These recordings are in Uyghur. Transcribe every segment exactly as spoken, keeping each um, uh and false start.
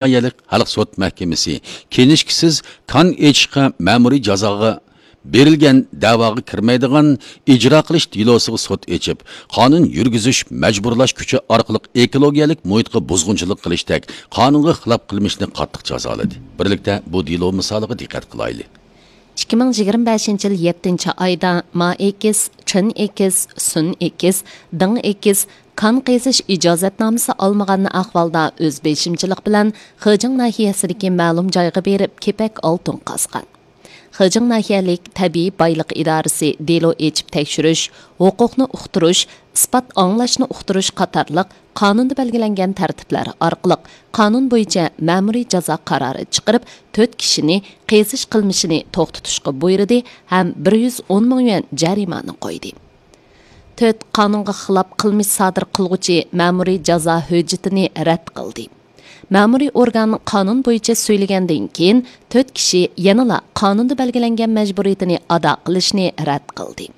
ناھىيەلىك خەلق سوت مەھكىمىسى كىنىشكىسىز كان ئېچىشقا مەمۇرىي جازاغا بېرىلگەن دەۋاغا كىرمەيدىغان ئىجرا قىلىش دېلوسىغا سوت ئېچىپ، قانۇن يۈرگۈزۈش، مەجبۇرلاش كۈچى ئارقىلىق ئېكولوگىيەلىك مۇھىتقا بۇزغۇنچىلىق قىلىشتەك قانۇنغا خىلاپ قىلمىشنى قاتتىق جازالىدى. بىرلىكتە بۇ دېلو مىسالىغا دىققەت قىلايلى. ئىككى مىڭ يىگىرمە بەشىنچى يىل يەتتىنچى ئايدا ما ئېكىس، چىن ئېكىس، سۈن ئېكىس، دىڭ ئېكىس، كان قېزىش ئىجازەتنامىسى ئالمىغان ئەھۋالدا ئۆز بېشىمچىلىق بىلەن خېجىڭ ناھىيەسىدىكى مەلۇم جايغا بېرىپ، كېپەك ئالتۇن قازغان. خېجىڭ ناھىيەلىك تەبىئىي بايلىق ئىدارىسى دېلو ئېچىپ تەكشۈرۈش، ھوقۇقنى ئۇقتۇرۇش، ئىسپات ئاڭلاشنى ئۇقتۇرۇش قاتارلىق قانۇندا بەلگىلەنگەن تەرتىپلەر ئارقىلىق قانۇن بويىچە مەمۇرىي جازا قارارى چىقىرىپ، تۆت كىشىنى قېزىش قىلمىشىنى توختىتىشقا بۇيرۇدى ھەم بىر يۈز ئون مىڭ يۈەن جەرىمانە قويدى. تۆت قانۇنغا خىلاپ قىلمىش سادىر قىلغۇچى مەمۇرىي جازا ھۆججىتىنى رەت قىلدى. مەمۇرىي ئورگان قانۇن بويىچە سۈيلىگەندىن كېيىن، تۆت كىشى يەنىلا قانۇندا بەلگىلەنگەن مەجبۇرىيىتىنى ئادا قىلىشنى رەت قىلدى.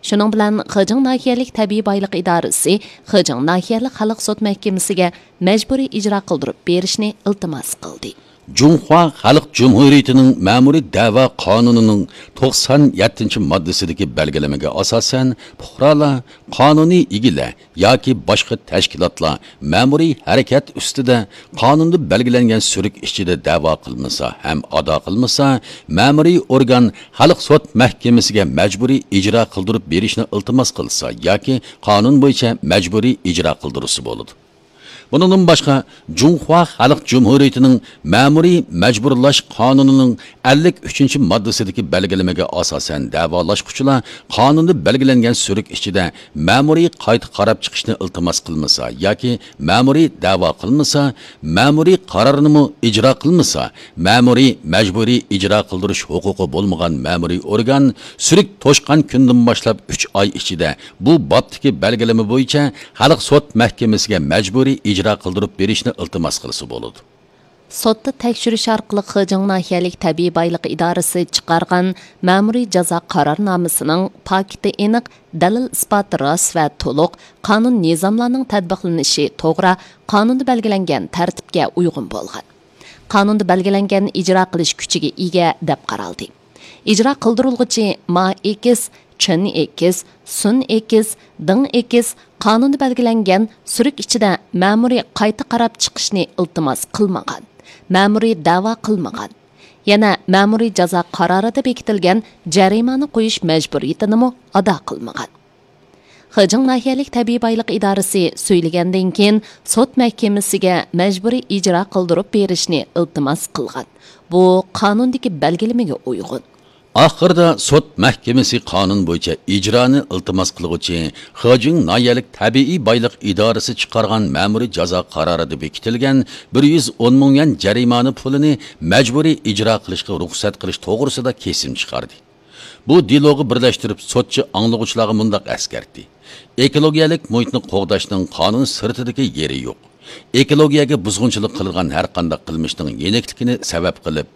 شۇنىڭ بىلەن خېجىڭ ناھىيەلىك تەبىئىي بايلىق ئىدارىسى خېجىڭ ناھىيەلىك خەلق سوت مەھكىمىسىگە مەجبۇرىي ئىجرا قىلدۇرۇپ بېرىشنى ئىلتىماس قىلدى. جۇڭخۇا خەلق جۇمھۇرىيىتىنىڭ مەمۇرىي دەۋا قانۇنىنىڭ توقسان يەتتىنچى ماددىسىدىكى بەلگىلىمىگە ئاساسەن، پۇقرالار، قانۇنىي ئىگىلەر ياكى باشقا تەشكىلاتلار مەمۇرىي ھەرىكەت ئۈستىدە قانۇندا بەلگىلەنگەن سۈرۈك ئىچىدە دەۋا قىلمىسا ھەم ئادا قىلمىسا، مەمۇرىي ئورگان خەلق سوت مەھكىمىسىگە مەجبۇرىي ئىجرا قىلدۇرۇپ بېرىشنى ئىلتىماس قىلسا ياكى قانۇن بويىچە مەجبۇرىي ئىجرا قىلدۇرسا بولىدۇ. بۇنىڭدىن باشقا، جۇڭخۇا خەلق جۇمھۇرىيىتىنىڭ مەمۇرىي مەجبۇرلاش قانۇنىنىڭ ئەللىك ئۈچىنچى ماددىسىدىكى بەلگىلىمىگە ئاساسەن، دەۋالاشقۇچىلار قانۇندا بەلگىلەنگەن سۈرۈك ئىچىدە مەمۇرىي قايتا قاراپ چىقىشنى ئىلتىماس قىلمىسا ياكى مەمۇرىي دەۋا قىلمىسا، مەمۇرىي قارارنىمۇ ئىجرا قىلمىسا، مەمۇرىي مەجبۇرىي ئىجرا قىلدۇرۇش ھوقۇقى بولمىغان مەمۇرىي ئورگان سۈرۈك توشقان كۈندىن باشلاپ ئۈچ ئاي ئىچىدە بۇ بابتىكى بەلگىلىمە بويىچە خەلق سوت مەھكىمىسىگە مەجبۇرىي ئىجرا قىلدۇرۇپ بېرىشنى ئىلتىماس قىلسا بولىدۇ. سوتتا تەكشۈرۈش ئارقىلىق خېجىڭ ناھىيەلىك تەبىئىي بايلىق ئىدارىسى چىقارغان مەمۇرىي جازا قارارنامىسىنىڭ پاكىتى ئېنىق، دەلىل ئىسپاتى راست ۋە تولۇق، قانۇن نىزاملارنىڭ تەتبىقلىنىشى توغرا، قانۇندا بەلگىلەنگەن تەرتىپكە ئۇيغۇن بولغان. قانۇندا بەلگىلەنگەن ئىجرا قىلىش كۈچىگە ئىگە دەپ قارالدى. ئىجرا قىلدۇرۇلغۇچى ما ئېكىس، چىن ئېكىس، سۈن ئېكىس، دىڭ ئېكىس قانۇندا بەلگىلەنگەن سۈرۈك ئىچىدە مەمۇرىي قايتا قاراپ چىقىشنى ئىلتىماس قىلمىغان، مەمۇرىي دەۋا قىلمىغان. يەنە مەمۇرىي جازا قارارىدا بېكىتىلگەن جەرىمانە قويۇش مەجبۇرىيىتىنىمۇ ئادا قىلمىغان. خېجىڭ ناھىيەلىك تەبىئىي بايلىق ئىدارىسى سۈيلىگەندىن كېيىن، سوت مەھكىمىسىگە مەجبۇرىي ئىجرا قىلدۇرۇپ بېرىشنى ئىلتىماس قىلغان. بۇ قانۇندىكى بەلگىلىمىگە ئۇيغۇن. ئاخىرىدا سوت مەھكىمىسى قانۇن بويىچە ئىجرانى ئىلتىماس قىلغۇچى خېجىڭ ناھىيەلىك تەبىئىي بايلىق ئىدارىسى چىقارغان مەمۇرىي جازا قارارىدا بېكىتىلگەن بىر يۈز ئون مىڭ يۈەن جەرىمانە پۇلىنى مەجبۇرىي ئىجرا قىلىشقا رۇخسەت قىلىش توغرىسىدا كېسىم چىقاردى. بۇ دېلوغا بىرلەشتۈرۈپ، سوتچى ئاڭلىغۇچىلارغا مۇنداق ئەسكەرتتى: ئېكولوگىيەلىك مۇھىتنى قوغداشنىڭ قانۇن سىرتىدىكى يېرى يوق. ئېكولوگىيەگە بۇزغۇنچىلىق قىلىدىغان ھەرقانداق قىلمىشنىڭ يېنىكلىكىنى سەۋەب قىلىپ،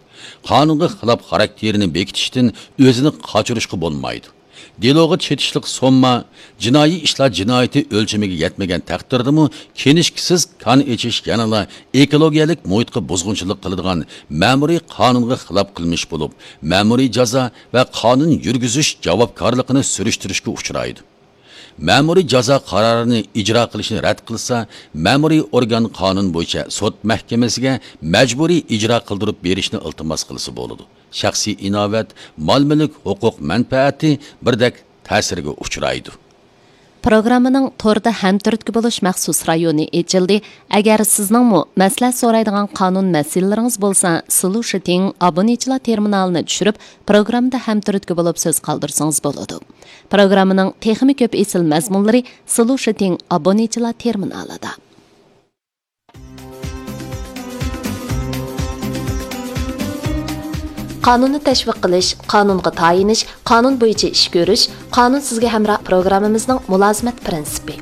قانۇنغا خىلاپ خاراكتېرىنى بېكىتىشتىن ئۆزىنى قاچۇرۇشقا بولمايدۇ. دېلوغا چېتىشلىق سومما جىنايى ئىشلار جىنايىتى ئۆلچىمىگە يەتمىگەن تەقدىردىمۇ، كىنىشكىسىز كان ئېچىش يەنىلا ئېكولوگىيەلىك مۇھىتقا بۇزغۇنچىلىق قىلىدىغان مەمۇرىي قانۇنغا خىلاپ قىلمىش بولۇپ، مەمۇرىي جازا ۋە قانۇن يۈرگۈزۈش جاۋابكارلىقىنى سۈرۈشتۈرۈشكە ئۇچرايدۇ. مەمۇرىي جازا قارارىنى ئىجرا قىلىشنى رەت قىلسا، مەمۇرىي ئورگان قانۇن بويىچە سوت مەھكىمىسىگە مەجبۇرىي ئىجرا قىلدۇرۇپ بېرىشنى ئىلتىماس قىلسا بولىدۇ. شەخسىي ئىناۋەت، مال-مۈلۈك، ھوقۇق مەنپەئەتى بىردەك تەسىرگە ئۇچرايدۇ. پروگراممىنىڭ توردا ھەمتۈرتكە بولۇش مەخسۇس رايونى ئېچىلدى. ئەگەر سىزنىڭمۇ مەسلىھەت سورايدىغان قانۇن مەسىلىلىرىڭىز بولسا، سىلۇشىتىڭ ئابونىچىلار تېرمىنالىنى چۈشۈرۈپ، پروگراممىدا ھەمتۈرتكە بولۇپ سۆز قالدۇرسىڭىز بولىدۇ. پروگراممىنىڭ تېخىمۇ كۆپ ئېسىل مەزمۇنلىرى سىلۇشىتىڭ ئابونىچىلار تېرمىنالىدا. قانۇننى تەشۋىق قىلىش، قانۇنغا تايىنىش، قانۇن بويىچە ئىش كۆرۈش، قانۇن سىزگە ھەمراھ پروگراممىمىزنىڭ مۇلازىمەت پىرىنسىپى.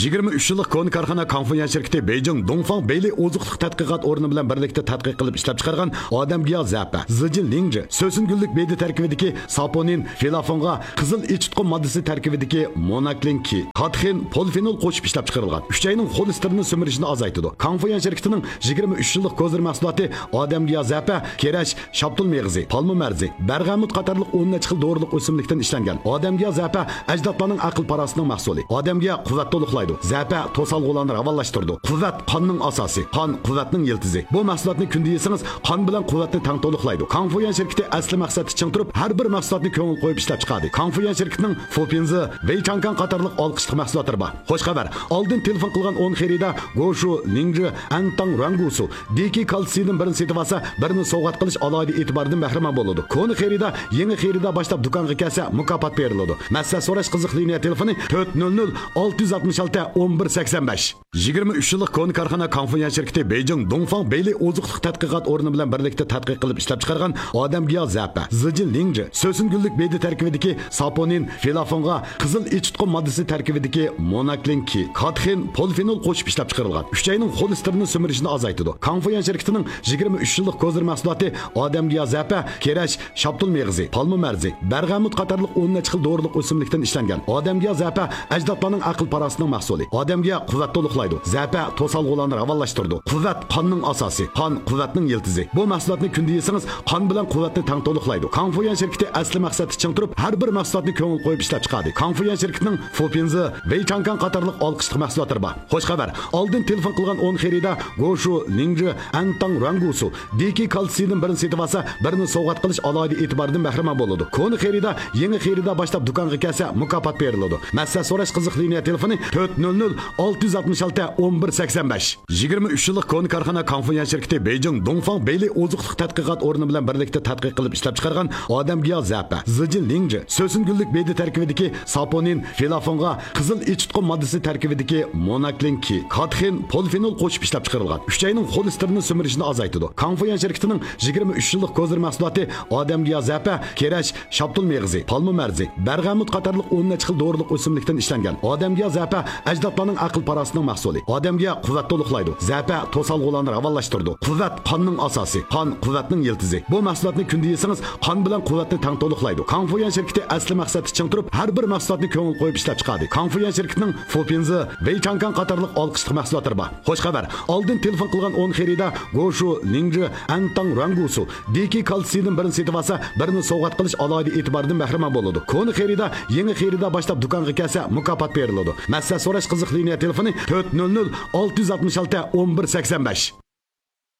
يىگىرمە ئۈچ يىللىق كونا كارخانا كاڭفۇيۈەن شىركىتى بېيجىڭ دۇڭفاڭ بېيلى ئوزۇق-تۈلۈك تەتقىقات ئورنى بىلەن بىرلىكتە تەتقىق قىلىپ ئىشلەپچىقارغان ئادەمگە ياغ زەپە، زىجىن لىڭجى، سۆسۈن گۈللۈك بېدە تەركىبىدىكى ساپونىن، فلافونغا، قىزىل ئېچىتقۇ ماددىسى تەركىبىدىكى موناكلىن كى، كاتېخىن، پولىفېنول قوشۇپ ئىشلەپچىقىرىلغان. ئۈچەينىڭ خولېستېرىنى سۈمۈرۈشىنى ئازايتىدۇ. كاڭفۇيۈەن شىركىتىنىڭ يىگىرمە ئۈچ يىللىق كوزىر مەھسۇلاتى ئادەمگە ياغ زەپە، كېرەش، شاپتۇل مېغىزى، پالما مەرزى، بەرغەمۇت قاتارلىق ئون نەچچە خىل دورىلىق ئۆسۈملۈكتىن ئىشلەنگەن. ئادەمگە ياغ زەپە ئەجدادلارنىڭ ئەقىل-پاراسىتىنىڭ مەھسۇلى. ئادەمگە قۇۋۋەت تولۇقلايدۇ. زەپە توسالغۇلارنى راۋانلاشتۇرىدۇ. قۇۋۋەت قاننىڭ ئاساسى، قان قۇۋۋەتنىڭ يىلتىزى. بۇ مەھسۇلاتنى كۈندە يېسىڭىز، قان بىلەن قۇۋۋەتنى تەڭ تولۇقلايدۇ. كاڭفۇيۈەن شىركىتى ئەسلى مەقسەتتە چىڭ تۇرۇپ، ھەر بىر مەھسۇلاتنى كۆڭۈل قويۇپ ئىشلەپچىقاردى. كاڭفۇيۈەن شىركىتىنىڭ فۇپىنزى، ۋېيچاڭكاڭ قاتارلىق ئالقىشلىق مەھسۇلاتلىرى بار. خوش خەۋەر! ئالدىن تېلېفون قىلغان ئون خېرىدار گوشۇ، لىڭجى، ئەنتاڭ، رۇەنگۇسۇ، دېكى كالتسىيدىن بىرنى سېتىۋالسا، بىرنى سوۋغات قىلىش ئالاھىدە ئېتىبارىدىن بەھرىمەن بولىدۇ. كونا خېرىدار، يېڭى خېرىدار باشلاپ دۇكانغا كەلسە، مۇكاپات بېرىلىدۇ. مەسلىھەت سوراش قىزىق لىنىيە تېلېفونى تۆت نۆل نۆل ئالتە يۈز ئاتمىش ئالتە ئون بىر سەكسەن بەش. يىگىرمە ئۈچ يىللىق كونا كارخانا كاڭفۇيۈەن شىركىتى بېيجىڭ دۇڭفاڭ بېيلى ئوزۇق-تۈلۈك تەتقىقات ئورنى بىلەن بىرلىكتە تەتقىق قىلىپ ئىشلەپچىقارغان ئادەمگە ياغ زەپە، زىجىن لىڭجى، سۆسۈن گۈللۈك بېدە تەركىبىدىكى ساپونىن، فلافونغا، قىزىل ئېچىتقۇ ماددىسى تەركىبىدىكى موناكلىن كى، كاتېخىن، پولىفېنول قوشۇپ ئىشلەپچىقىرىلغان. ئۈچەينىڭ خولېستېرىنى سۈمۈرۈشىنى ئازايتىدۇ. كاڭفۇيۈەن شىركىتىنىڭ يىگىرمە ئۈچ يىللىق كوزىر مەھسۇلاتى ئادەمگە ياغ زەپە، كېرەش، شاپتۇل مېغىزى، پالما مەرزى، بەرغەمۇت قاتارلىق ئون نەچچە خىل دورىلىق ئۆسۈملۈكتىن ئىشلەنگەن. ئادەمگە ياغ زەپە ئەجدادلارنىڭ ئەقىل-پاراسىتىنىڭ مەھسۇلى. ئادەمگە قۇۋۋەت تولۇقلايدۇ. زەپە توسالغۇلارنى راۋانلاشتۇرىدۇ. قۇۋۋەت قاننىڭ ئاساسى، قان قۇۋۋەتنىڭ يىلتىزى. بۇ مەھسۇلاتنى كۈندە يېسىڭىز، قان بىلەن قۇۋۋەتنى تەڭ تولۇقلايدۇ. كاڭفۇيۈەن شىركىتى ئەسلى مەقسەتتە چىڭ تۇرۇپ، ھەر بىر مەھسۇلاتنى كۆڭۈل قويۇپ ئىشلەپچىقاردى. كاڭفۇيۈەن شىركىتىنىڭ فۇپىنزى، ۋېيچاڭكاڭ قاتارلىق ئالقىشلىق مەھسۇلاتلىرى بار. خوش خەۋەر! ئالدىن تېلېفون قىلغان ئون خېرىدار گوشۇ، لىڭجى، ئەنتاڭ، رۇەنگۇسۇ، دېكى كالتسىيدىن بىرنى سېتىۋالسا، بىرنى سوۋغات قىلىش ئالاھىدە ئېتىبارىدىن بەھرىمەن بولىدۇ. كونا خېرىدار، يېڭى خېرىدار باشلاپ دۇكانغا كەلسە، مۇكاپات بېرىلىدۇ. مەسلىھەت سوراش قىزىق لىنىيە تېلېفونى تۆت نۆل نۆل ئالتە يۈز ئاتمىش ئالتە ئون بىر سەكسەن بەش. يىگىرمە ئۈچ يىللىق كونا كارخانا كاڭفۇيۈەن شىركىتى بېيجىڭ دۇڭفاڭ بېيلى ئوزۇق-تۈلۈك تەتقىقات ئورنى بىلەن بىرلىكتە تەتقىق قىلىپ ئىشلەپچىقارغان ئادەمگە ياغ زەپە، زىجىن لىڭجى، سۆسۈن گۈللۈك بېدە تەركىبىدىكى ساپونىن، فلافونغا، قىزىل ئېچىتقۇ ماددىسى تەركىبىدىكى موناكلىن كى، كاتېخىن، پولىفېنول قوشۇپ ئىشلەپچىقىرىلغان. ئۈچەينىڭ خولېستېرىنى سۈمۈرۈشىنى ئازايتىدۇ. كاڭفۇيۈەن شىركىتىنىڭ يىگىرمە ئۈچ يىللىق كوزىر مەھسۇلاتى ئادەمگە ياغ زەپە، كېرەش، شاپتۇل مېغىزى، پالما مەرزى، بەرغەمۇت قاتارلىق ئون نەچچە خىل دورىلىق ئۆسۈملۈكتىن ئىشلەنگەن. ئادەمگە ياغ زەپە ئەجدادلارنىڭ ئەقىل-پاراسىتىنىڭ مەھسۇلى. ئادەمگە قۇۋۋەت تولۇقلايدۇ. زەپە توسالغۇلارنى راۋانلاشتۇرىدۇ. قۇۋۋەت قاننىڭ ئاساسى، قان قۇۋۋەتنىڭ يىلتىزى. بۇ مەھسۇلاتنى كۈندە يېسىڭىز، قان بىلەن قۇۋۋەتنى تەڭ تولۇقلايدۇ. كاڭفۇيۈەن شىركىتى ئەسلى مەقسەتتە چىڭ تۇرۇپ، ھەر بىر مەھسۇلاتنى كۆڭۈل قويۇپ ئىشلەپچىقاردى. كاڭفۇيۈەن شىركىتىنىڭ فۇپىنزى، ۋېيچاڭكاڭ قاتارلىق ئالقىشلىق مەھسۇلاتلىرى بار. خوش خەۋەر! ئالدىن تېلېفون قىلغان ئون خېرىدار گوشۇ، لىڭجى، ئەنتاڭ، رۇەنگۇسۇ، دېكى كالتسىيدىن بىرنى سېتىۋالسا، بىرنى سوۋغات قىلىش ئالاھىدە ئېتىبارىدىن بەھرىمەن بولىدۇ. كونا خېرىدار، يېڭى خېرىدار باشلاپ دۇكانغا كەلسە، مۇكاپات بېرىلىدۇ. مەسلىھەت سوراش قىزىق لىنىيە تېلېفونى تۆت نۆل نۆل ئالتە يۈز ئاتمىش ئالتە ئون بىر سەكسەن بەش.